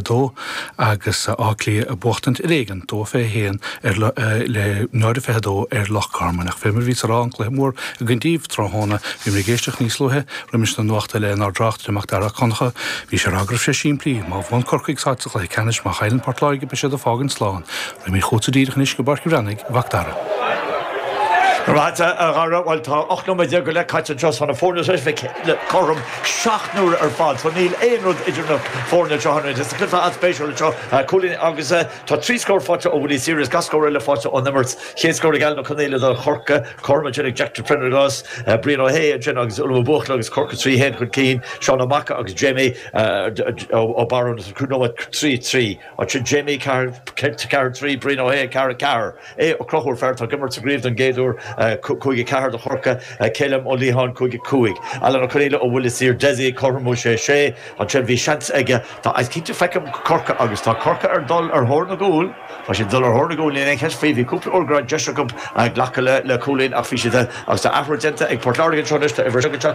2 agus Áth Cliath ag buachtaint ar éigean, 2-21 ar le 0-22 ar Loch Garman. Ach fé mar a bhíos ag rá, an cluiche mór againn daoibh tráthnóna, bhíomar ag éisteacht níos luaithe roimis na nuachta lenár dtráchtaire Mac Dara Ó Conchadha. Bhí sé ag rá go raibh sé simplí, má bhuann Corcaigh táid sa chluiche ceannais, má chailleann Port Láirge beidh siad ag fágaint slán. Raghaimid chugatsa díreach anois go Páirc an Bhreathnaigh, a Mhac Dara. Go raibh maith agat, a Dhara. Bhuel, tá 18 nóiméad go leith caite anseo. Tá na foirne tar éis bheith cothrom 7 n-uaire ar fad. So níl aon rud idir na foirne anseo anois. Is cluiche an-spéisiúil anseo. Cúilín agus tá 3 scór faighte ó Willie Sears, gach scór eile faighte ón imirt. Chéad scór ag Alan Ó Conaola do Chorcaigh, cothrom ansin ag Jack de Prendergast, Brian Ó hAodha ansin agus Uilliam Ó Buachalla agus Corcaigh 3 1 chun cinn. Seán Ó Maca agus Jamie Ó Barún 5 nóiméad 3 3. Ansin Jamie 4 4 3, Brian Ó hAodha 4 4. Aodh Ó Conchúir, fear atá ag imirt sa gcraobh don gcéad uair, 5 4 do Chorcaigh, Calum Ó Liatháin 5 5. Alan Ó Conaola ó Bhuile Saor, Dessie ag cothromú 6 6. Ansin bhí seans aige, tá, is cinnte feicim Corcaigh agus tá Corcaigh ar dul ar thóir na gcúl, tá siad ag dul ar thóir na gcúl, níl aon cheist faoi, bhí cúpla uair go raibh deis acu glacadh le cúilín ach bhí siad, agus tá athrú déanta ag Port Láirge anseo anois, tá uimhir 7.